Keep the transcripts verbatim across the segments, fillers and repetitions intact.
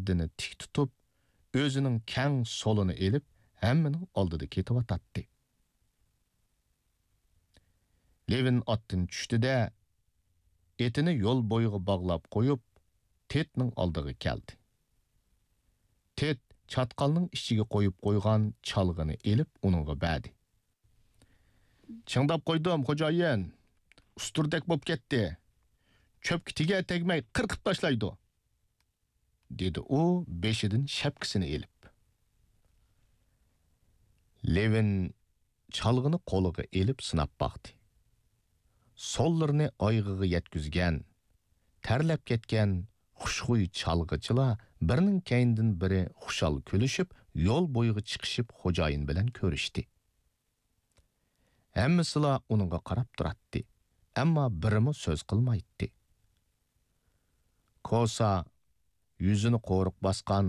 قەددىنى تىك تۇتۇپ، ئۆزىنىڭ كەڭ سولىنى ئېلىپ، ھەممىنىڭ ئالدىدا كېتىۋاتاتتى. لېۋىن ئاتتىن چۈشتى-دە، ئېتىنى يول بويىغا باغلاپ قويۇپ، تېتنىڭ ئالدىغا كەلدى. تېت چاتقالنىڭ ئىچىگە قويۇپ قويغان چالغىنى ئېلىپ، ئۇنىڭغا بەردى. «چىڭداپ قويدۇم، خوجايىن. ئۇستۇردەك بولۇپ كەتتى. چۆپكە تېگەر تەگمەي قىرقىپ تاشلايدۇ.» دېدى ئۇ بېشىدىن شەپكىسىنى ئېلىپ. لېۋىن چالغىنى قولىغا ئېلىپ سىناپ باقتى. سوللىرىنى ئايىغىغا يەتكۈزگەن، تەرلەپ كەتكەن خۇشخۇي چالغىچىلار بىرىنىڭ كەينىدىن بىرى خۇشال كۈلۈشۈپ، يول بويىغا چىقىشىپ خوجايىن بىلەن كۆرۈشتى. ھەممىسىلا ئۇنىڭغا قاراپ تۇراتتى، ئەمما بىرىمۇ سۆز قىلمايتتى. كوسا، يۈزىنى قورۇق باسقان،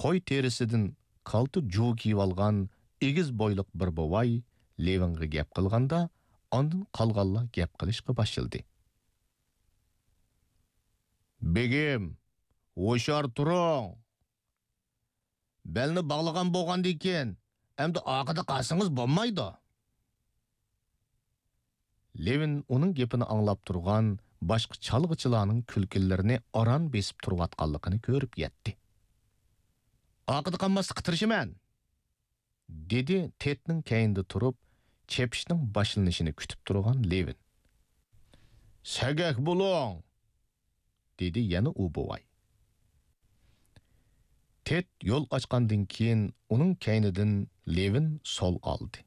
قوي تېرىسىدىن كالتە جۇۋا كىيىۋالغان ئېگىز بويلۇق بىر بوۋاي لېۋىنغا گەپ قىلغاندا، ئاندىن قالغانلار گەپ قىلىشقا باشلىدى. بېگىم، ھوشيار تۇرۇڭ! بەلنى باغلىغان بولغاندىن كېيىن، ئەمدى ئارقىدا قالسىڭىز بولمايدۇ. لېۋىن ئۇنىڭ گېپىنى ئاڭلاپ تۇرغان باشقا چالغىچىلارنىڭ كۈلكىلىرىنى ئاران بېسىپ تۇرۇۋاتقانلىقىنى كۆرۈپ يەتتى. ئارقىدا قالماسلىققا تىرىشىمەن، دېدى تېتنىڭ كەينىدە تۇرۇپ، چېپىشنىڭ باشلىنىشىنى كۈتۈپ تۇرغان لېۋىن. سەگەك بولۇڭ! دېدى يەنە ئۇ بوۋاي. تېت يول ئاچقاندىن كېيىن ئۇنىڭ كەينىدىن لېۋىن سول ئالدى.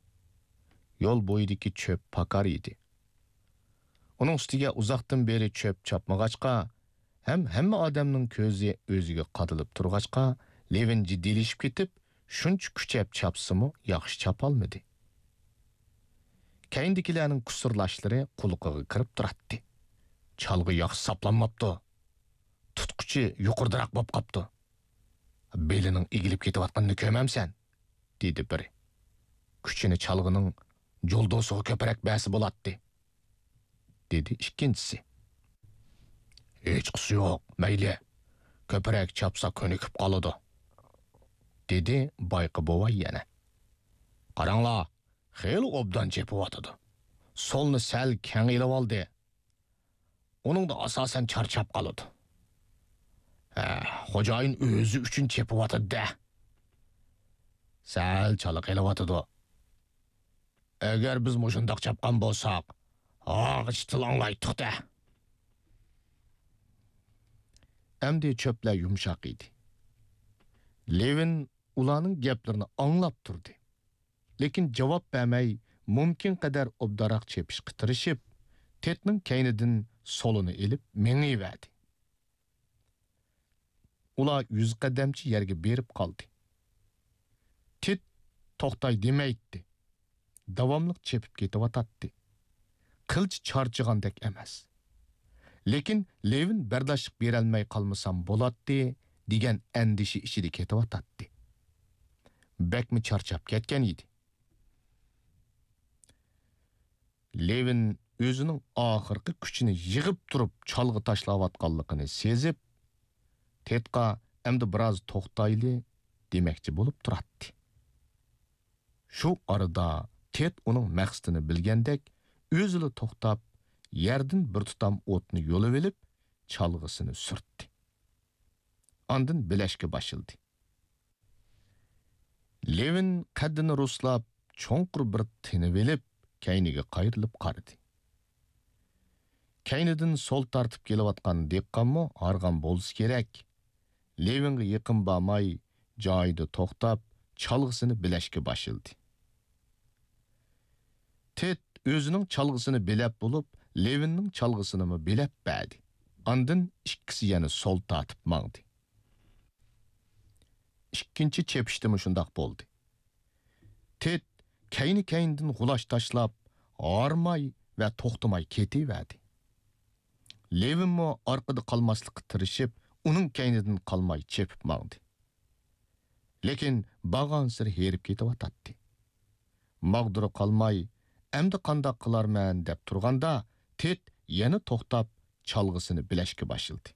يول بويىدىكى چۆپ پاكار ئىدى. ئۇنىڭ ئۈستىگە ئۇزاقتىن بېرى چۆپ چاپمىغاچقا، ھەم ھەممە ئادەمنىڭ كۆزى ئۆزىگە قادىلىپ تۇرغاچقا، لېۋىن جىددىيلىشىپ كېتىپ، شۇنچە كۈچەپ چاپسىمۇ ياخشى چاپالمىدى. كەينىدىكىلەرنىڭ كۇسۇرلاشلىرى قۇلىقىغا كىرىپ تۇراتتى. چالغى ياخشى ساپلانماپتۇ. تۇتقۇچى يۇقىرىدىراق بولۇپ قاپتۇ. بېلىنىڭ ئېگىلىپ كېتىۋاتقىنىنى كۆرمەمسەن؟ دېدى بىرى. كۈچىنى چالغىنىڭ جۇلدۇسىغا كۆپرەك بەرسە بولاتتى. دېدى ئىككىنچىسى. ھېچقىسى يوق، مەيلى. كۆپرەك چاپسا كۆنۈكۈپ قالىدۇ. دېدى بايقى بوۋاي يەنە. قاراڭلار، خېلى ئوبدان چېپىۋاتىدۇ. سولنى سەل كەڭ ئېلىۋالدى. ئۇنىڭدا ئاساسەن چارچاپ قالىدۇ. ھە، خوجايىن ئۆزى ئۈچۈن چېپىۋاتىدۇ-دە. سەل چالا قېلىۋاتىدۇ. ئەگەر بىز مۇشۇنداق چاپقان بولساق، ھاغىچ تىللاڭلايتتۇق-دە. ئەمدى چۆپلەر يۇمشاق ئىدى. لېۋىن ئۇلارنىڭ گەپلىرىنى ئاڭلاپ تۇردى. لېكىن جاۋاب بەرمەي، مۇمكىن قەدەر ئوبدانراق چېپىشقا تىرىشىپ، تېتنىڭ كەينىدىن سولىنى ئېلىپ مېڭىۋەردى. ئۇلار يۈز قەدەمچە يەرگە بېرىپ قالدى. تېت توختاي دېمەيتتى. داۋاملىق چېپىپ كېتىۋاتاتتى. قىلچە چارچىغاندەك ئەمەس. لېكىن لېۋىن بەرداشلىق بېرەلمەي قالمىسام بولاتتى دېگەن ئەندىشە ئىچىدە كېتىۋاتاتتى. بەكمۇ چارچاپ كەتكەن ئىدى. لېۋىن ئۆزىنىڭ ئاخىرقى كۈچىنى يىغىپ تۇرۇپ چالغا تاشلاۋاتقانلىقىنى سېزىپ، تېتقا ئەمدى بىراز توختايلى دېمەكچى بولۇپ تۇراتتى. شۇ ئارىدا تېت ئۇنىڭ مەقسىتىنى بىلگەندەك، ئۆزىلا توختاپ، يەردىن بىر تۇتام ئوتنى يۇلۇۋېلىپ، چالغىسىنى سۈرتتى. ئاندىن بىلەشكە باشلىدى. لېۋىن قەددىنى رۇسلاپ، چوڭقۇر بىر تىنىۋېلىپ، كەينىگە قايرىلىپ قارىدى. كەينىدىن سول تارتىپ كېلىۋاتقان دېھقانمۇ ھارغان بولسا كېرەك. لېۋىنغا يېقىن بارماي، جايىدا توختاپ، چالغىسىنى بىلەشكە باشلىدى. تېت ئۆزىنىڭ چالغىسىنى بىلەپ بولۇپ، لېۋىننىڭ چالغىسىنىمۇ بىلەپ بەردى. ئاندىن ئىككىسى يەنە سول تارتىپ ماڭدى. ئىككىنچى چېپىشتىمۇ شۇنداق بولدى. تېت كەينى-كەينىدىن غۇلاچ تاشلاپ، ھارماي ۋە توختىماي كېتىۋەردى. لېۋىنمۇ ئارقىدا قالماسلىققا تىرىشىپ، ئۇنىڭ كەينىدىن قالماي چېپىپ ماڭدى. لېكىن بارغانسېرى ھېرىپ كېتىۋاتاتتى. ماغدۇرى قالماي، ئەمدى قانداق قىلارمەن دەپ تۇرغاندا، تېت يەنە توختاپ، چالغىسىنى بىلەشكە باشلىدى.